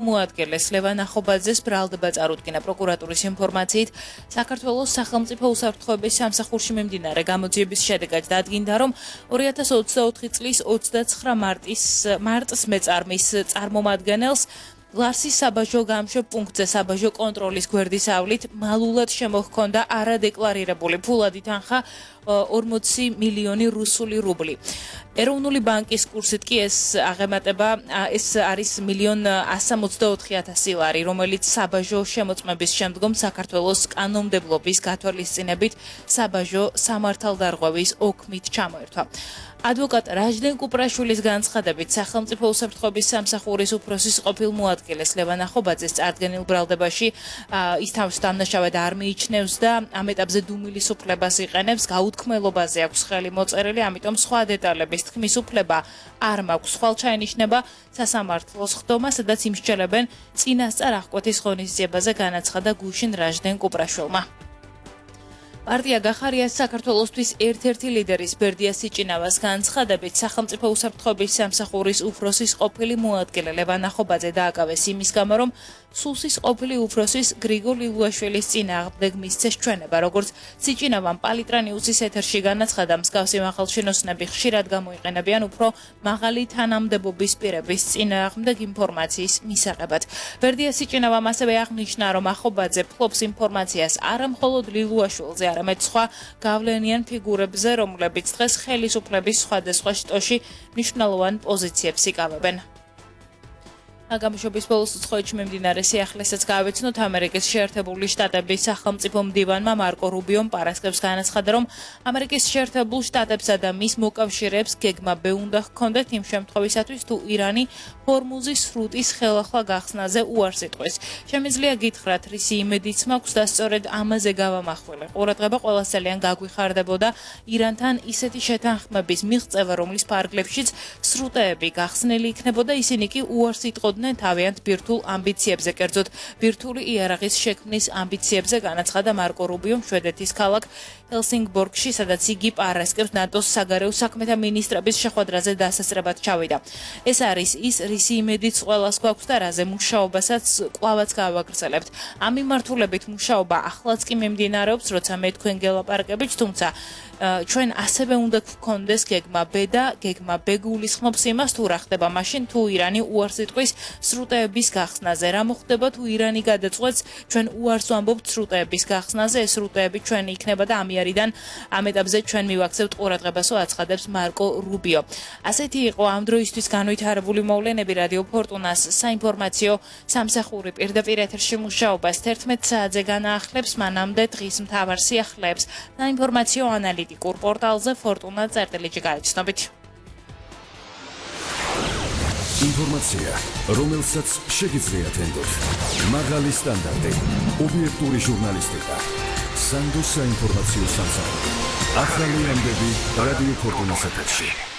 მოადგილეს ლევან ახობაძეს ბრალდება წარუდგინა პროკურატურის ინფორმაციით საქართველოს სახელმწიფო უსაფრთხოების სამსახურში მიმდინარე გამოძიების შედეგად დადგინდა, რომ 2024 წლის 29 მარტს მეწარმის წარმომადგენელს ლარსის საბაჟო გამშვებ პუნქტზე საბაჟო კონტროლის გვერდის ავლით მალულად შემოჰქონდა არადეკლარირებული ფულადი თანხა 40 მილიონი რუსული რუბლი. ეროვნული ბანკის კურსით კი ეს აღემატება ეს არის 1,164,000 ლარი, რომელიც საბაჟო შემოწმების შემდგომ საქართველოს კანონმდებლობის გათვალისწინებით საბაჟო სამართალდარღვევის ოქმით ჩამოერთვა. ადვოკატ რაჟდენ კუპრაშვილის განცხადებით, სახელმწიფო უსაფრთხოების სამსახურის უფროსის ყოფილ მოადგილეს ლევან ახობაძეს წარდგენილ ბრალდებაში ის თავს დამნაშავედ არ მიიჩნევს და ამ ეტაპზე დუმილის უფლებას იყენებს, გაუთქმელობაზე აქვს ხელი მოწერილი, ამიტომ სხვა დეტალების თქმის უფლება არ მაქვს. ხვალ ჩაენიშნება სასამართლოს ხდომა, სადაც იმსჯელებენ წინასწარ აღკვეთის ღონისძიებაზე, განაცხადა გუშინ რაჟდენ კუპრაშვილმა. პარტია გახარიას საქართველოსთვის ერთ-ერთი ლიდერის ბერდია სიჭინავას განცხადებით, სახელმწიფო უსაფრთხოების სამსახურის უფროსის ყოფილი მოადგილე ლევან ახობაძე დააკავეს იმის გამო, რომ სუსის ყოფილი უფროსის გრიგოლ ილუაშვილის წინააღმდეგ მისცეს ჩვენება, როგორც სიჭინავამ პალიტრა ნიუსის ეთერში განაცხადა, მსგავსი მაღალჩინოსნები ხშირად გამოიყენებიან უფრო მაღალი თანამდებობის პირების წინააღმდეგ ინფორმაციის მისაღებად. ბერდია სიჭინავამ ასევე აღნიშნა, რომ ახობაძე ფლობს ინფორმაციას არა მხოლოდ ლილუაშვილზე, არამედ სხვა გავლენიან ფიგურებზე, რომლებიც დღეს ხელისუფლების სხვადასხვა შტოში მნიშვნელოვან პოზიციებს იკავებენ. გამშვების ბოლოს უცხოეთში მიმდინარე სიახლესაც გავეცნოთ. ამერიკის შეერთებული შტატების სახელმწიფო მდივანმა მარკო რუბიომ პარასკევს განაცხადა, რომ ამერიკის შეერთებულ შტატებსა და მის მოკავშირეებს გეგმა ბ უნდა ჰქონდეთ იმ შემთხვევისათვის, თუ ირანი ჰორმუზის სრუტის ხელახლა გახსნაზე უარს იტყვის. შემიძლია გითხრათ, რისი იმედიც მაქვს და სწორედ ამაზე გავამახვილე. ყურადღება ყველას ძალიან გაგვიხარდებოდა ირანთან ისეთი შეთანხმების მიღწევა, რომლის ფარგლებშიც სრუტეები გახსნილი იქნებოდა, ისინი კი უარს იტყოდნენ თავიანთ ბირთულ ამბიციებზე, კერძოდ ბირთული იარაღის შექმნის ამბიციებზე, განაცხადა მარკო რუბიომ შვედეთის ქალაქ ჰელსინგბორგში, სადაც იგი პარასკევს ნატოს საგარეო საქმეთა მინისტრების შეხვედრაზე დასასწრებად ჩავიდა. ეს არის ის, რისი იმედიც ყველას გვაქვს და რაზე მუშაობასაც კვლავაც გავაგრძელებთ. ამ მიმართულებით მუშაობა ახლაც კი მიმდინარეობს, როცა მე თქვენ გელაპარაკებით, თუმცა ჩვენ ასევე უნდა გქონდეს გეგმა ბ და გეგმა ბ გულისხმობს იმას, თუ რა ხდება მაშინ, თუ ირანი უარს იტყვის სრუტეების გახსნაზე. რა მოხდება, თუ ირანი გადაწყვეტს ჩვენ უარს ვამბობთ სრუტეების გახსნაზე, ეს სრუტეები ჩვენი იქნება და ამიერიდან ამ ეტაპზე ჩვენ მივაქცევთ ყურადღებასო, აცხადებს მარკო რუბიო. ასეთი იყო ამ დროისთვის განვითარებული მოვლენები რადიო ფორტუნას საინფორმაციო სამსახური პირდაპირ ეთერში მუშაობას 11 საათზე განაახლებს, მანამდე დღის მთავარ სიახლეებს საინფორმაციო ანალიტიკურ პორტალზე fortuna.gr გაიცნობით. ინფორმაცია, რომელსაც შეგიძლიათ ენდოთ. მაღალი სტანდარტი, ობიექტური ჟურნალისტიკა. სანდოს საინფორმაციო სამსახური. ახალი ამბები რადიო ფორტუნას ეთერში.